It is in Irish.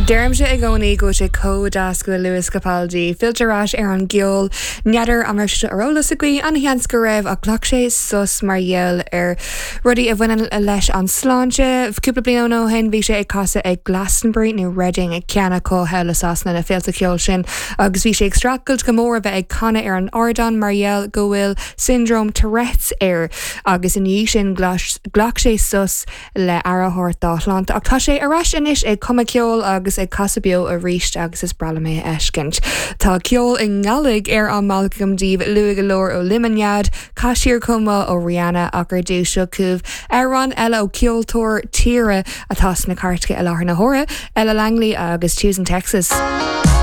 Deirimse i gcónaí go bhfuil sé chomh deas go bhfuil Lewis Capaldi fillte ar ais ar an gceol. N'fheadar an raibh sé seo ar eolas agaibh, an-sheans go raibh, ach ghlac sé sos mar gheall ar rudaí a bhaineann leis an sláinte. Cúpla bliain ó shin bhí sé ag casadh ag Glastonbury nó Reading, ceann acu thall i Sasana, na féilte ceoil sin, agus bhí sé ag streachailt go mór a bheith ag canadh ar an ardán mar gheall go bhfuil Syndrome Tourette's air agus ina dhiaidh sin ghlac sé sos le aire a thabhairt dá shláinte. Ach tá sé ar ais anois ag cumadh ceoil agus ag casadh beo arís agus is breá liom é a fheiscint. Tá ceol i nGaidhlig ar an mbealach agam daoibh, luath go leor ó Lemonade, Caith Siar Chomh Maith ó Rihanna ach ar dtús seo chugaibh amhrán eile ó cheoltóir tíre atá sna cairteacha i láthair na huaire, Ella Langley agus Tunes in Texas.